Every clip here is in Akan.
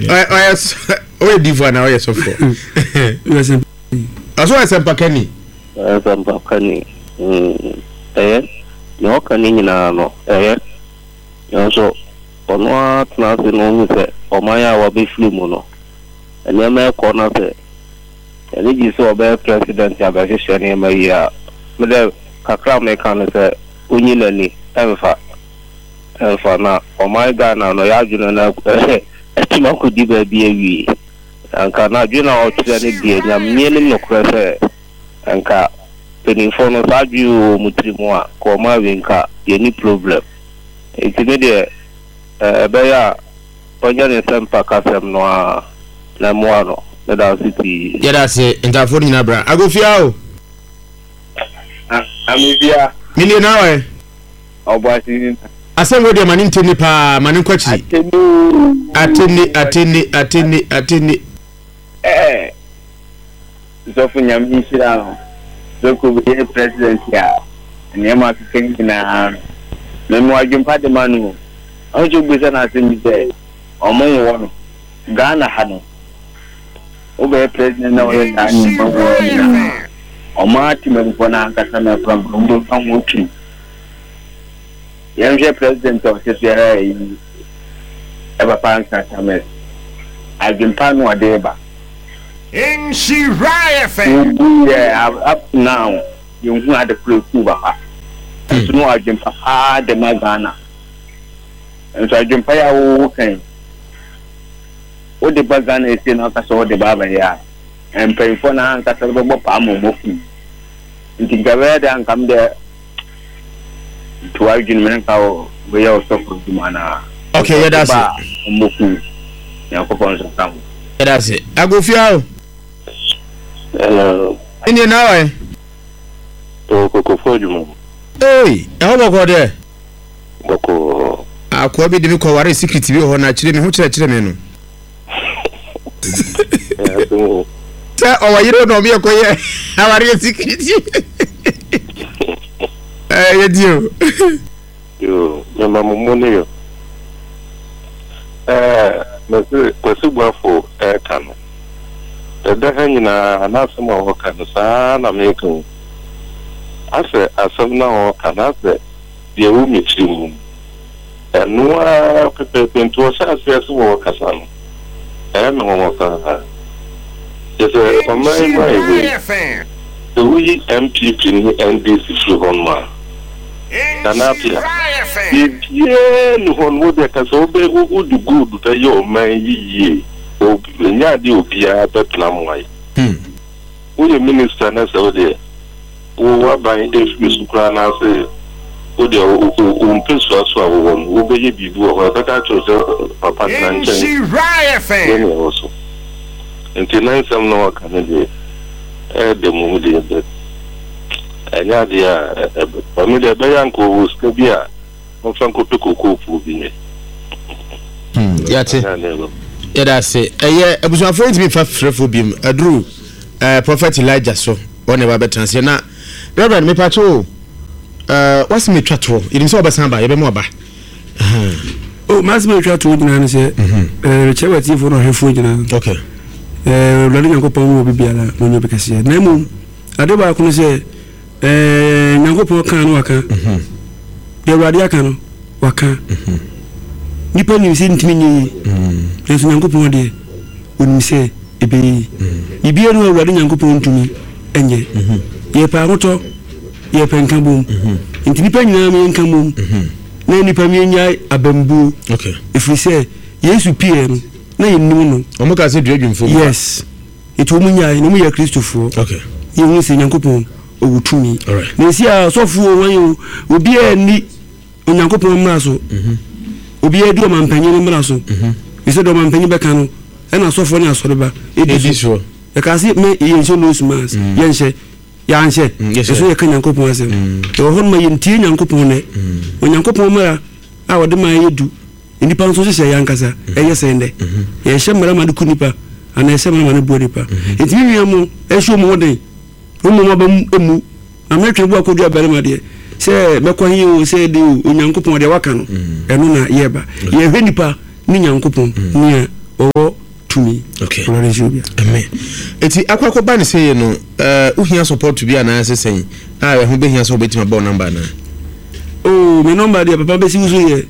Ɔyɛ ɔyɛ difo anaa ɔyɛ sɔfo? Ɔsɛ ɔyɛ sɛmpakani. Ɔyɛ sɛmpakani. Ɛyɛ nea ɔka ne nyinaa no ɛyɛ. Nanso ɔno ara tena ase na ohu sɛ ɔman a wabɛfiri mu no nneɛma ɛkɔ na sɛ n'ani gye sɛ ɔbɛyɛ president abɛhyehyɛ nneɛma yie a, me dɛ kakra a meka ne sɛ onyi n'ani mfa mfa na ɔman Ghana no y'adwene no atumi akɔdi baabi awie. Anka n'adwene a ɔkyerɛ no deɛ Nyame anim nokorɛ sɛ nka mpaninfoɔ no saa adwene wei wɔ wɔn tiri mu a nka wɔn awie nka yɛnni problem. Nti me deɛ ɛbɛyɛ a ɔnyɛ ne nsɛmpakasɛm no ara na ɛmmoa no. Meda ase pii. Yɛda ase ntaafoɔ no nyinaa bra. Agofia o. Amefia. Menie na ɔɛ. Ɔboase ni na. Asɛm wei deɛ ma ne ntɛnni paa ma ne nkɔ akyiri. Atɛnni oo. Atɛnni atɛnni atɛnni atɛnni. Ɛɛ sɔfo nyame nhyira wo sɛ kɔ bɛyɛ president a nneɛma akeka nyinaa no me mewɔ adwempa de ma no o. Ɔno nso bisa no asɛm bi sɛ ɔmo nwɔ no Ghana ha no wobɛyɛ president na wɔyɛ saa nneɛma wɔ nyinaa ɔmo atemamfoɔ no ankasa no akora mpo ɔmo bɛfa ho twi. Yɛnhwɛ president a ɔte so ara yi papa Ansah Tames adwempa na ɔde reba. Nhyira FM. Wobu yɛ up to now yɛnhu ade koro eku papa. Nso no adwempa paa de ma Ghana. Nso adwempa yi a wowo kan wode ba Ghana esie na ɔka sɛ wode ba abɛyɛ a mpanyinfoɔ no ankasa bɛbɔ paa ma wɔn akum. Nti nka ɛbɛyɛ dɛ anka me deɛ nti w'adwene mu nka woyɛ ɔsɔfo adwuma anaa? Ok yɛda ase. Ba a ɔmmɔku Nyankopɔn nso ka ho. Yɛda ase. Agofia o. Hello. Ɛnneɛ na awɔ ɛ? Ɛwɔ kokofo adwuma mu. Ei, ɛhɔ bɔkɔɔ deɛ? Bɔkɔɔ. Akoa bi de me kɔwaree secret bi wɔ hɔ na akyire me ho kyerɛkyerɛ me no. Sɛ ɔwɔ yere na ɔmo yɛ kɔyɛ awareɛ secret. Ɛɛ yɛ di o. Yoo, mema mo mo ne yo. Ɛɛ mese Kwasi Boafo ɛɛka no. Ɛda ha nyinaa n'asɛm a ɔɔka no saa na meeka o. Asɛ asɛm no a ɔɔka no asɛ deɛ ɛwɔ me tiri mu. Ɛno ara pɛpɛɛpɛ nti ɔhyɛ aseɛ sɛ ɔrekasa no, ɛyɛ me nwanwa paa. Kyerɛ sɛ ɔman yi mu ayɛ wei, sɛ woyi NPP ne NDC firi hɔ nom a, Nana Appiah, biribiara nni hɔ nom, wo deɛ ka sɛ wobɛ wode gold bɛyɛ ɔman yi yie, ɛnyɛ adeɛ a obiara bɛpene ama woayɛ. Woyɛ minister na sɛ wo deɛ wo w'aban ɛfiri so koraa na ase wo deɛ wo mpɛsua so a wowɔ no wobɛyɛ biribi wɔ hɔ a ɛbɛka akyerɛ wo sɛ papa tena nkyɛn yɛ nea ɛwɔ so nti na nsɛm na waka no deɛ ɛyɛ dɛ mmom deɛ but ɛnyɛ adeɛ a ɛbɛ me deɛ ɛbɛyɛ anka ɔwɔ sika bi a Momfa nkɔpɛ kookoofuo bi nyɛ. Hmm, yɛate. Yɛda ase. Ɛyɛ abusuafoɔ ntumi fa frɛfoɔ biom. Aduru eh, Prophet Elijah so wɔn na ɛba bɛtena ase. Na Reverend mepatwo o, eh, wasi metwa toɔ. Yɛnim sɛ wɔbɛsan ba, yɛbɛma ɔba. O, m'asɛm a ɛtwa toɔ nyinaa ne sɛ, mhm. eh, mekyerɛ w'atiefoɔ ne ɔhwɛfoɔ nyinaa. Okay. Eh, Awurade Nyankopɔn wɔ biribiara na ɔnyɛ obi kɛseɛ. Na mmom, ade baako ne sɛ, Ɛɛ Nyankopɔn kaa no waka. Mhm. Deɛ Awurade aka no waka. Mhm. Nipa nim sɛ ntumi nyɛ yie. Mhm. Nanso Nyankopɔn deɛ onim sɛ ɛbɛyɛ yie. Biribiara no Awurade Nyankopɔn ntumi nyɛ. Yɛpɛ ahotɔ, yɛpɛ nkabom. Nti nipa nyinaa meyɛ nkabom. Na nipa meyɛnyae abambuo. Ɛfiri sɛ Yesu pieɛ no na yɛnnim no. Wɔn ka sɛ dua dwumfoɔ. Yes. Enti wɔn nyae na wɔn yɛ Kristofoɔ. Okay. Yɛn hu sɛ Nyankopɔn ɔwɔ tumi. Alright. Na esi a ɔsɔfo o wɔn o obiara nni Onyankopɔn mmara so. Mhm. Obiara di ɔmampanyin mmara so. Mhm. Efisɛ deɛ ɔmampanyin bɛka no ɛna asɔfoɔ ne asɔreba edi Edi so. soɔ. Yɛka se mɛ yɛnhyɛ nose mask. Mm. Yɛnhyɛ. Yɛanhyɛ. Mm, yɛhyɛ. Ɛso yɛka Nyankopɔn asɛm. Mm. Yɛwɔ hɔ no ma yɛntie Nyankopɔn nɛ. Mm. Onyankopɔn mmara a ɔde maa yɛ du. Nnipa nso hyehyɛ yɛn ankasa ɛyɛ sɛn dɛ? Yɛhyɛ mmara ma no ku nnipa anaa yɛhyɛ mmara ma no boa nnipa? Enti me nua mo ɛnhyɛ wɔn ho den na wɔn aba mu mmu. Na mɛtwe bo akɔdua barima deɛ, sɛ mɛkɔ he oo, sɛ ɛde oo, Onyankopɔn deɛ waka no, ɛno na yɛba. Yɛhwɛ nnipa ne Nyankopɔn, nea ɔwɔ. Okay. Awurade nhyira obiara. Amen. Eti akɔ akɔba ne sɛyɛ no, eh, wohia support bi anaasɛ sɛn a ɛho bɛhia sɛ wobɛtumi abɔ wo number anaa? Oh, me number deɛ papa bɛsi wo so yɛ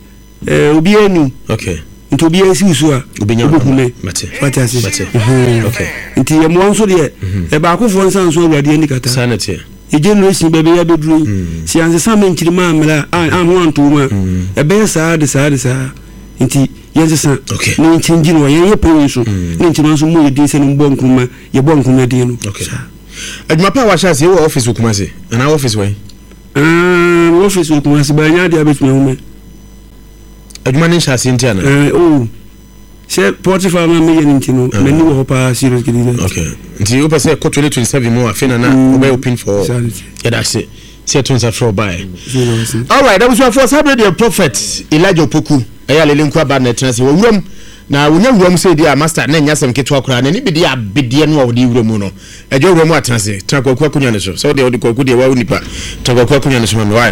eh, obiara ni. Okay. Nti obiara si wo so a, Wobɛnya wo wobɛhu number. me. Mate. Wate ase? Mate. Mhm. Okay. Nti yɛmmoa nso deɛ, ɛbaakofoɔ nsa nso Awurade ani kata. Saa na ɛteɛ. Yɛ generation baabi a yɛabɛduru yi, sɛ yɛansesa ma nkyirimma ammrɛ a, a ho anto mu a, ɛbɛyɛ saa de saa de saa. Nti yɛnsesa na yɛnkyɛngyi no wɔ yɛn yɛ panyin so na nkyirimma nso mmɔ yɛ din sɛ no mbɔ Nkrumah, yɛbɔ Nkrumah din no. Saa. Adwuma pa a wahyɛ aseɛ wɔ office wɔ Kumasi anaa office wɔ he? Ah, mewɔ office wɔ Kumasi, ba ɛnyɛ adeɛ a bɛtumi ahu me. Adwuma no nhyɛ aseɛ nti anaa? Eh, oh. Sɛ Potiphar ma meyɛ no nti no, mm. m'ani wɔ hɔ paa serious gidigidi. Okay. Nti wopɛ sɛ ɛkɔ 2027 mu afei na na mm. wobɛyɛ open for all. Yɛda ase sɛ ɛto nsa frɛ ɔbaeɛ. Alright, abusuafoɔ saa berɛ deɛ Prophet Elijah Opoku ɛyɛ alele nku aba na ɛtena ase wɔ wuram na wonya wuram sɛ di a master na ɛnyɛ asɛm ketewa koraa n'ani bɛdi abedeɛ no a wɔde wura mu no Agya wura mu atena ase tena kwaku akonwa no so sɛ wodeɛ wode kwaku deɛ wawo nipa tena kwaku akonwa no so ma me why.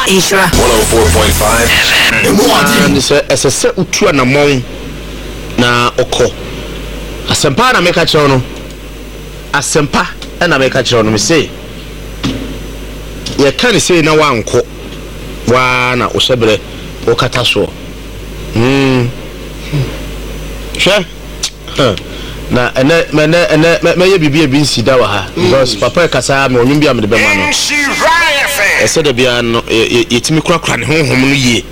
Nhyira. 104.5 FM. Ne sɛ ɛsɛ sɛ wotu anammɔn na ɔkɔ. Asɛmpa na meka kyerɛ wo no. Asɛmpa na meka kyerɛ wo no. Mese yɛka ne sei na woankɔ waa na wohyɛ berɛ wokata soɔ. Hmm. Hwɛ. Huh. Na ɛnɛ mɛnɛ ɛnɛ mɛyɛ biribi a ebi nsi da wɔ ha mm. because papa ɛkasa ma ɔnwom bi a mede bɛma no. Ɛsɛ da biara no yɛtumi korakora ne honhom no yie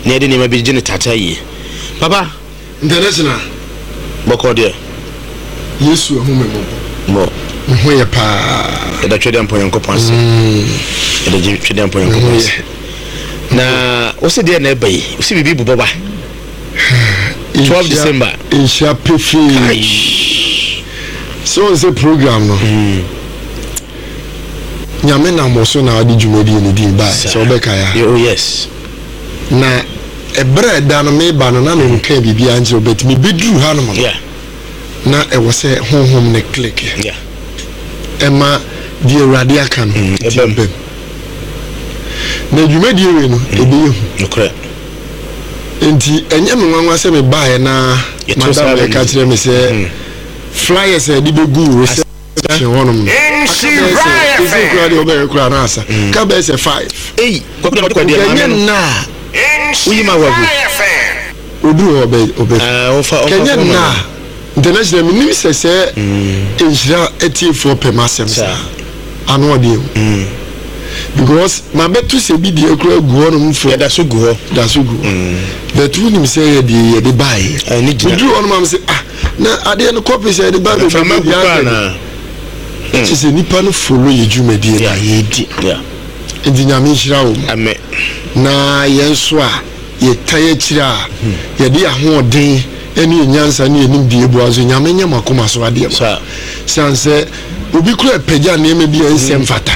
na yɛde nneɛma bi gye ne tata yie. Papa. International. Bɔkɔ deɛ. Yesu ahu me mmɔbɔ. Mɔ. Me ho yɛ paa. Yɛda Twɛdeɛ Mpɔ Nyankopɔn ase. Mm. Yɛda Twɛdeɛ Mpɔ Nyankopɔn ase. Na wose deɛ na ɛba yi, wose biribi bobɔ ba. 12 December. Nhyira pefee. Sɛ wɔn sɛ program no. Mm. Nyame nam wɔ so na ɔde dwumadie no din bae. Sɛ wobɛka ya. Oh yes. Na ɛberɛ a ɛda no meba no na menkaa biribiara nkyerɛ wo but mebɛduru hanom no Yeah. na ɛwɔ sɛ honhom no click Yeah. ɛma deɛ Awurade aka no Mm, ɛti ɛbam. bam. Na dwumadie wei no ɛbɛyɛ hu. Nokorɛ. Nti ɛnyɛ me nwanwa sɛ mebaeɛ na Yɛto saa madam bɛ ɛka no. kyerɛ me sɛ flyers a yɛde bɛgu reception hɔnom no aka bɛyɛ sɛ ɛsɛ koraa deɛ wobɛyɛ koraa na asa ka bɛyɛ sɛ five. Ei, kwaku deɛ ɔde Nka maame ɛnyɛ no. nna a Woyi ma wagu. Oduru hɔ ɔbɛ ɔbɛ. Ah, ɔfa ɔfa Kɛnyɛ fɔm nna ma. a international menim sɛ sɛ nhyira atiefoɔ pɛ m'asɛm saa ano ɔdeɛ o because mabɛto sɛ bi deɛ koraa gu hɔ nom fo Yɛda so gu hɔ. da so gu hɔ but wonim sɛ yɛ deɛ yɛde baeɛ Ɛne gyina. meduru hɔ nom am sɛ ah na adeɛ no kɔpi sɛ yɛde ba Mframa bebree gu bi paa asɛ na. kyɛ sɛ nipa no follow yɛ dwumadie no a yɛdi Yeah. Nti Nyame nhyira wo mo. Amen. Na yɛn nso a yɛtae akyire a yɛde yɛn ahoɔden ne yɛn nyansa ne yɛn nimdeɛ bua nso Nyame nyɛ mo akoma so adeɛ ma. Siane sɛ obi kura pagya nneɛma bi a ɛnsɛ mfata.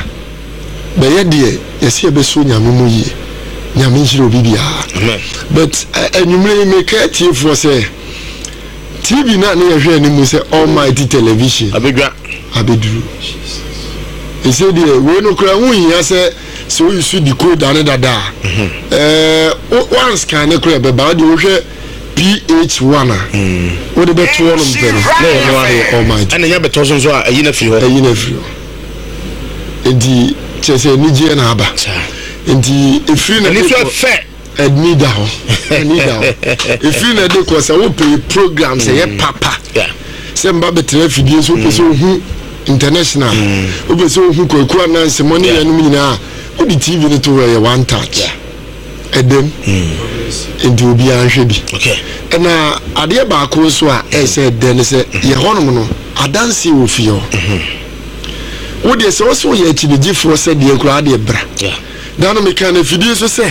Bɛyɛ deɛ yɛsɛ yɛbɛsɔ Nyame mu yie. Nyame nhyira obi biara. Amen. But anwummerɛ yi meka atiefoɔ sɛ TV no a ne yɛhwɛ anim sɛ Almighty Television Abedwa. abɛduru. Ɛsɛ deɛ wei no koraa ho hia sɛ sɛ woyi so decoder ne dada a mhm. ɛɛ wanscan ne koraa ɛbɛba wode wohwɛ PH1 a mm. wode bɛto hɔ nom pɛ no na ɛyɛ no ayɛ Almighty. Ɛna nya bɛtɔ so nso a ɛyi na firi hɔ. Ɛyi na firi hɔ. Nti kyerɛ sɛ anigyeɛ na aba. Nti ɛfiri na ɛni so ɛfɛ. Ɛni da hɔ ɛni da hɔ efiri na ɛde kɔ sɛ wopɛ program sɛ yɛ mm. papa sɛ mba bɛtena afidie so wopɛ sɛ mm. ohu international mm. wopɛ sɛ ohu kwaku ananse mo ne yɛnom nyinaa wode tv no to hɔ ɛyɛ one touch ɛdɛm nti obiara nhwɛ bi ɛna adeɛ baako nso a ɛsɛ ɛdɛ ne sɛ yɛ hɔnom no adanseɛ wɔ fie hɔ mm-hmm. wodeɛ sɛ wo sɛ woyɛ akyinigyefoɔ sɛ deɛ koraa deɛ bra Da no mekaa no afidie so sɛ,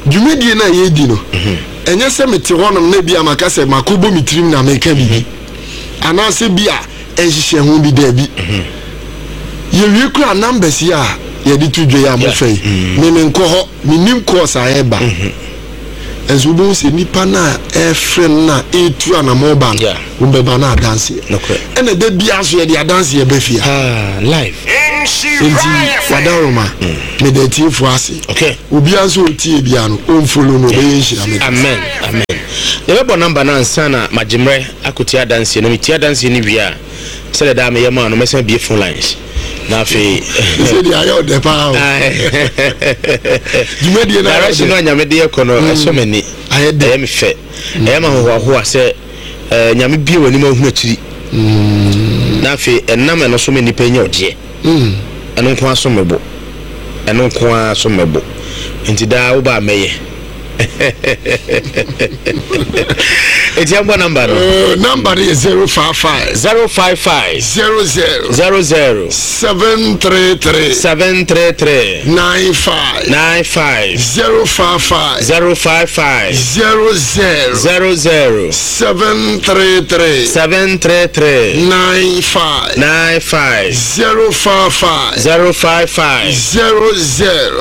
Dwumadie no a yɛredi no, ɛnyɛ sɛ mete hɔnom na ebia maka sɛ makɔbɔ me tirim na mereka biribi, anaasɛ bi a nhyehyɛɛ ho bi, daabi. Yɛwie koraa a, numbers yi a yɛde to dwa yi a mofa yi, me menkɔ hɔ, mennim course a ɛreba. Nso wobɛhu sɛ nnipa no a ɛrefrɛ no na ɛretu anamɔn ba no, wɔbɛba no adanseɛ. Ɛna da biara nso yɛde adanseɛ ba fie ha. Live. Nti wadaroma, meda atiefoɔ ase. Obiara nso ɔtie biara no, ɔmfolo no, ɔbɛyɛ nhyira. Amen. Amen. Yɛbɛbɔ number no ansa na magye mmerɛ akɔtie adanseɛ no. Metie adanseɛ no wie a, sɛdeɛ daa meyɛ maa no, mɛsan abue phone lines. Na afei. Sɛ deɛ ayɛ ɔdɛ paa o. Dwumadie no ayɛ ɔdɛ. Direction no a Nyame de yɛ kɔ no, ɛsɔ m'ani. Ayɛ dɛ. Ɛyɛ me fɛ. Ɛyɛ me ahohoahoa sɛ Nyame bue w'anim a wohunu akyiri. Na afei ɛnam ɛno so ma nnipa nya ɔgyeɛ. Ɛno nko ara som me bo. Ɛno nko ara som me bo. Nti daa woba a mɛyɛ. Eti yɛn bɔ number no. Number no yɛ 055. 055. 00. 00. 733. 733. 95. 95. 055. 055. 00. 00. 733. 733. 95. 95. 055. 055. 00.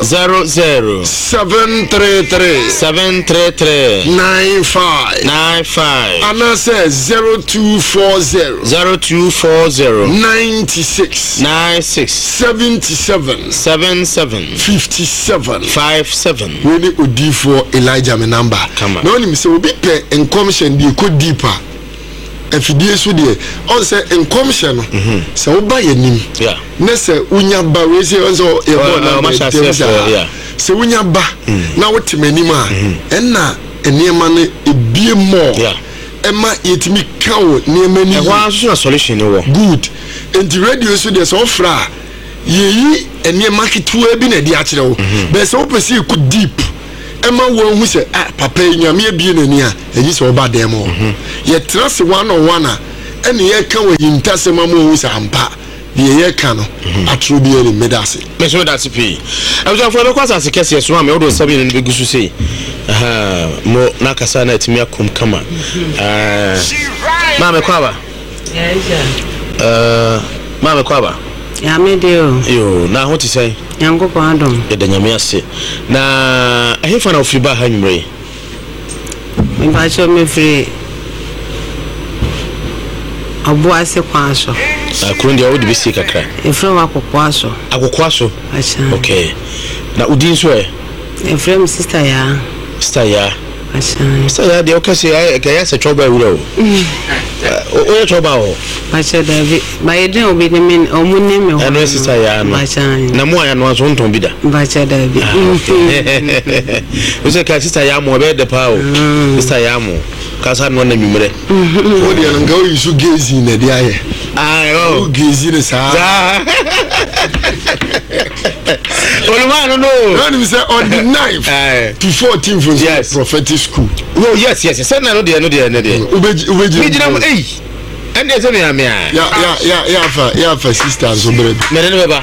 00. 733. 733. 95. 95. Anaasɛ 0240. 0240. 96. 96. 77. 77. 57. 57. Wei ne odiyifoɔ Elijah me number. Kama. Na wonim sɛ obi pɛ nkɔmhyɛ no deɛ ɛkɔ deep a, afidie so deɛ, ɔn sɛ nkɔmhyɛ no, sɛ woba yɛnim, na sɛ wonya ba, wei sɛ ɔn sɛ yɛbɔɔ number ntɛm saa, sɛ wonya ba na wote m'anim a, ɛnna nneɛma no ebie more, ɛma yɛtumi ka wo nneɛma no yie. Ɛhɔ ara nso na solution no wɔ. Good. Nti radio so deɛ sɛ wofrɛ a, yɛyi nneɛma ketewa bi na ɛde akyerɛ wo. Bɛɛ sɛ wopɛ sɛ yɛkɔ deep ɛma woahu sɛ ah papa yi Nyame abie n'ani a, ɛgye sɛ woba dan mu hɔ. Yɛtena ase one on one a, ɛne yɛka wɔ ahintasɛm ama woahu sɛ ampa deɛ yɛka no atoro biara nnim. Meda ase. Me nso meda ase pii. Abusuafoɔ yɛbɛkɔ asase kɛseɛ so maame wode wo nsa mmienu no bɛgu so sei. Ahaa mo na akasa na atumi akom kama. Aah maame kɔ aba. Aah maame kɔ aba. Nyame de o. Yoo na ho te sɛn? Nyankopɔn adom. Yɛda Nyame ase. Na ɛhefa na wofiri baa ha anwummerɛ yi? Mepakyɛw mefiri Ɔboase kwan so. Ah, kuro deɛ wode bɛsie kakra. Yɛfrɛ hɔ Akokoa so. Akokoa so? Akyɛ. Okay. Na wo din nso ɛ? Yɛfrɛ me Sister Yaa. Sister Yaa. Akyɛ. Sister Yaa deɛ woka sɛ ɛyɛ sɛ twɔba awura o. Woyɛ twɔba wɔ hɔ? Pakyɛ dabi. Ba yɛ din a obi ne me ɔmo ne me hɔ. Ɛno yɛ Sister Yaa no. Pakyɛ. Na mo a yɛanoa nso wontɔn bi da? Pakyɛ dabi. Ah, okay. Wosɛ ka Sister Yaa mo ɛbɛyɛ dɛ paa o. Sister Yaa mo kasa noa na nwummerɛ. Wo deɛ no nka woyi so gazing na ɛde ayɛ. Wo gazi no saa. Saa. Olùmọ̀ no no. Lọ́nà sẹ́ on the 9th to 14th nso yes. Prophetic school. Oh yes yes sẹ́ na no deɛ no deɛ no deɛ. Wobɛgye wobɛgye. Mi gyina mu eyi ɛn deɛ sɛ mi ame a. Ya ya ya ya fa ya fa sister nso bẹrẹ bi. Mɛde ne bɛba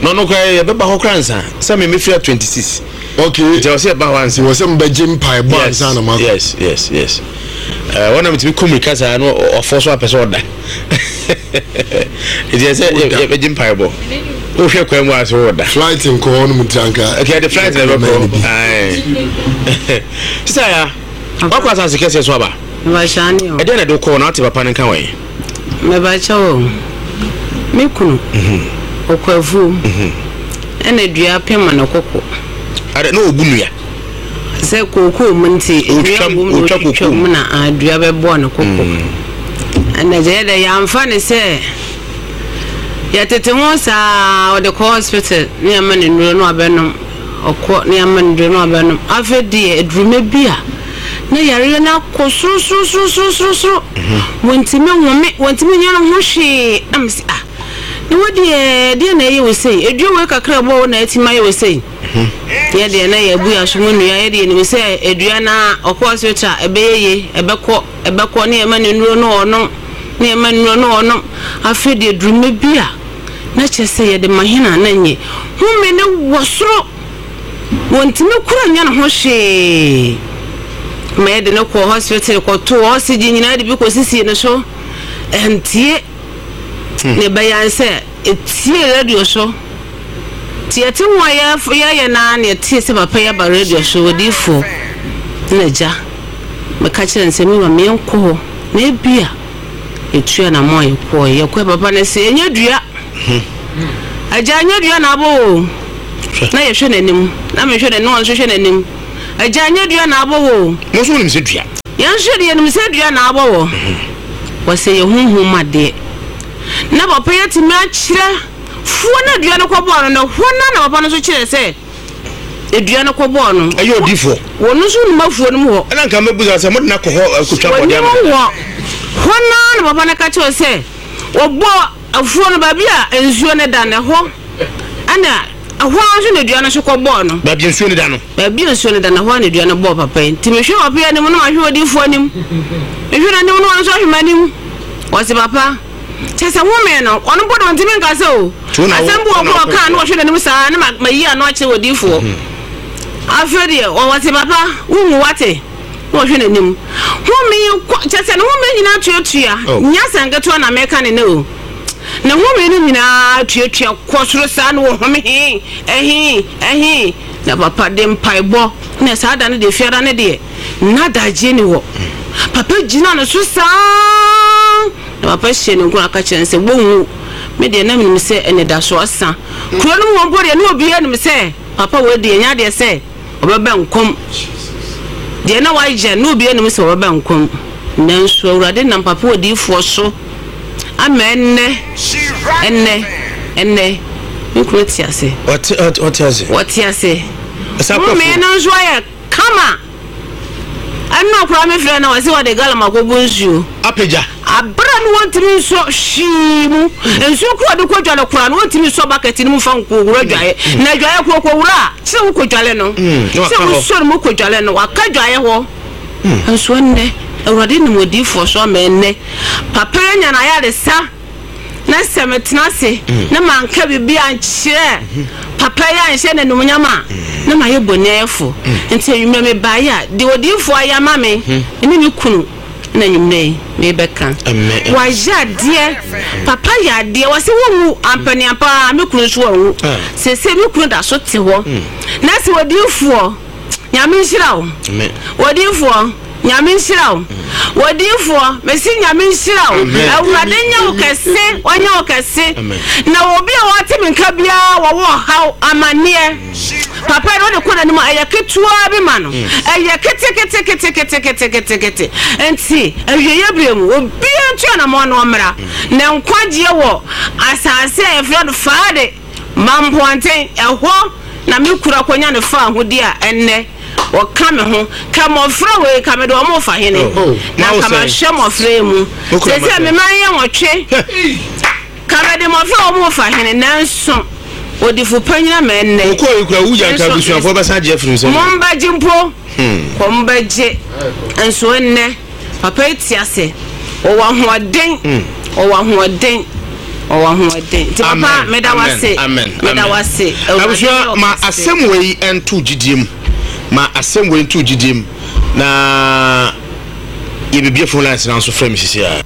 na ɔno koraa yɛ bɛba hɔ koraa nsa sɛ mi mi fira 26. Okay. Nti ɔsɛ ɛba hɔ ansa. Wɔ sɛ mbɛgye mpaebɔ ansa na makɔ. Yes yes yes. Ɛɛ wɔn na mi ti mi kɔ mirika saa no ɔfɔ so apɛ sɛ ɔda. Nti ɛsɛ yɛbɛgye mpaebɔ. Wohwɛ kwan mu a so wɔda. Flight nkɔ hɔ nom nti anka. Okay, the flight na ɛbɛkɔ. Aye. Sisa ya, wakɔ asase kɛseɛ so aba. Mebakyɛ ane o. Ɛdeɛn na ɛde wo kɔɔ na wote papa no nka wɔ he? Mebakyɛ o, me kunu, ɔkɔ afuom, ɛna dua pem ne koko. Adɛ, na ɔbu nnua? Sɛ kookoo mu nti, dua wom na ɔtwitwa mu na dua bɛbɔɔ ne koko. Ɛna gya yɛ dɛ yɛamfa ne sɛ yɛtete ho saa ɔde kɔ hospital ne yɛma no nnuro na wabɛnom, ɔkɔ ne yɛma no nnuro na wabɛnom. Afei deɛ aduruma bi a na yareɛ no akɔ sorosorosorosoro, wɔntumi nhome, wɔntumi nyɛ ne ho hwee. Na mese ah, na wo deɛ deɛ na ɛyɛ wo sei, aduro wei kakra ɛbɔ wo na atumi ayɛ wo sei. Yɛ deɛ na yɛabu yɛn aso mu nnua, yɛ deɛ yɛnim sɛ dua no ara ɔkɔ hospital a ɛbɛyɛ yie, ɛbɛkɔ, ɛbɛkɔ ne yɛma no nnuro no ɔnom, ne yɛma no nnuro no ɔnom. Afei deɛ duru mmerɛ bi a na kyerɛ sɛ yɛde ma hena na nye. Home no wɔ soro, wɔntumi kora nyɛ ne ho hwee. Ma yɛde no kɔɔ hospital kɔtoo oxygen nyinaa de bi kɔsisii ne so, ɛntie. Ne ɛbɛyɛ ara ne sɛ ɛtiee radio so. Nti yɛte ho a yɛyɛ no ara na yɛtee sɛ papa yi aba radio so, odiyifoɔ. Ɛna agya, meka kyerɛɛ no sɛ me ma menkɔ hɔ na ebia yɛtu anammɔn a yɛkɔɔɛ. Yɛkɔɛ papa no se ɛnyɛ dua. Agya ɛnyɛ dua na abɔ wo o. Na yɛhwɛ n'anim, na mehwɛ n'anim, na ɔno nso hwɛ n'anim. Agya ɛnyɛ dua na abɔ wo o. Mo nso monim sɛ dua. Yɛn nso deɛ yɛnim sɛ dua na abɔ wɔ. Wɔsɛ yɛ honhom mu adeɛ. Na papa yi atumi akyerɛ fuo na dua no kɔbɔɔ no no, hɔ no na papa no nso kyerɛ sɛ dua no kɔbɔɔ no. Ɛyɛ odifoɔ. Wɔn nso nim afuo no mu hɔ. Ɛna nka mɛbusa sɛ mode no akɔ hɔ akɔtwa bɔdeɛ ama no. Wɔnim hɔ. Hɔ no ara na papa no ka kyerɛ sɛ wɔbɔ afuo no baabi a nsuo no da no ɛhɔ ɛna ɛhɔ ara nso na dua no nso kɔbɔɔ no. Baabi a nsuo no da no. Baabi a nsuo no da no ɛhɔ ara na dua no bɔɔ papa yi. Nti mehwɛ papa yi anim na mahwɛ odiyifoɔ anim. Mehwɛ n'anim na ɔno nso ahwɛ m'anim. Ɔse papa, kyerɛ sɛ home no, ɔno mpo de ɔntumi nkasa o. Asɛm bi wɔ hɔ koraa ɔkaa na ɔhwɛ n'anim saa na mayi ano akyerɛ odiyifoɔ. Afei deɛ ɔse papa, wonwu wate? Na ɔhwɛ n'anim. Home yi kɔ, kyerɛ sɛ ne home nyinaa tuatua. Nyɛ asɛm ketewa na meka ne nnɛ o. Ne home no nyinaa tuatua kɔ soro saa na ɔhome hee, ɛhee, ɛhee. Na papa de mpaebɔ, na saa da no deɛ, fiada no deɛ, na adagyeɛ ni hɔ. Papa gyina no so saa, na papa hyɛ ne nkuran ka kyerɛ no sɛ, Wonwu. Me deɛ, na menim sɛ anidasoɔ asa. Kuro no mu hɔ mpo deɛ, na obiara nim sɛ papa wei deɛ, ɛnyɛ adeɛ sɛ ɔbɛba nkwa mu. Deɛ na wayɛ no, na obiara nim sɛ ɔbɛba nkwa mu. Nanso Awurade nam papa odiyifoɔ so ama ɛnnɛ, ɛnnɛ, ɛnnɛ, me kunu te ase. Ɔte, ɔte, ɔte ase. Ɔte ase. Home no nso ayɛ kama. Ɛnna koraa me frɛ no ɔse ɔde galɔn akɔbu nsuo. Apagya. Abere no wɔntumi nsɔ hwee mu. Nsuo koro ɔde kɔ dwale koraa no wɔntumi nsɔ bucket no mu fa nkɔwura dwaeɛ. Na dwaeɛ koro kɔwura a kyerɛ wokɔ dwale no. Sɛ wosɔ no mu kɔ dwale no waka dwaeɛ hɔ. Nso ɛnnɛ Awurade nam odiyifoɔ so ama ɛnnɛ papa yi anya n'ayaresa. Na sɛ metena ase na manka biribi ankyerɛ papa yi anhyɛ no animuonyam a, na mayɛ bonniayɛfo. Enti anwummerɛ mebaeɛ a, deɛ odiyifoɔ ayɛ ama me ne me kunu na anwummerɛ yi merebɛka. Wayɛ adeɛ, papa yɛ adeɛ, wɔse wonwu ampaniampa ara, me kunu nso anwu. Seesei me kunu da so te hɔ. Na sɛ odiyifoɔ, Nyame nhyira wo. Odiyifoɔ. Nyame nhyira wo. Odiyifoɔ, mese Nyame nhyira wo. Awurade nyɛ wo kɛse, ɔnyɛ wo kɛse. Na obi a ɔte me nka biara wɔwɔ ɔhaw, amanneɛ. Papa yi wode kɔ n'anim a, ɛyɛ ketewa bi ma no. Ɛyɛ keteketeketeketeketekete. Nti, awieeɛ berɛ mu, obiara ntu anamɔn na ɔmmra. Na nkwagyeɛ wɔ asase a yɛfrɛ no Faade Mampoanten, ɛhɔ na me kunu akɔnya ne faahodi a ɛnnɛ wɔka me ho. Ka mmɔfra wei, ka mede wɔn refa hene, na nka mahwɛ mmɔfra yi mu. Seesei me mma yɛ nwɔtwe. Ka mede mmɔfra a wɔn refa hene, nanso odifo panyin ama ɛnnɛ. Wokɔɔ yi kura wugya nka abusuafoɔ bɛsan agye afiri nsam. Mombɛgye mpo, kɔ mbɛgye. Nso ɛnnɛ. Papa yi te ase. Ɔwɔ ahoɔden. Ɔwɔ ahoɔden. Ɔwɔ ahoɔden. Nti papa meda wo ase. Meda wo ase. Abusua ma asɛm wei nto gyidie mu. Ma asɛm wei nto gyidie mu. Na yɛbɛbie phone lines na nso frɛ me sisi a.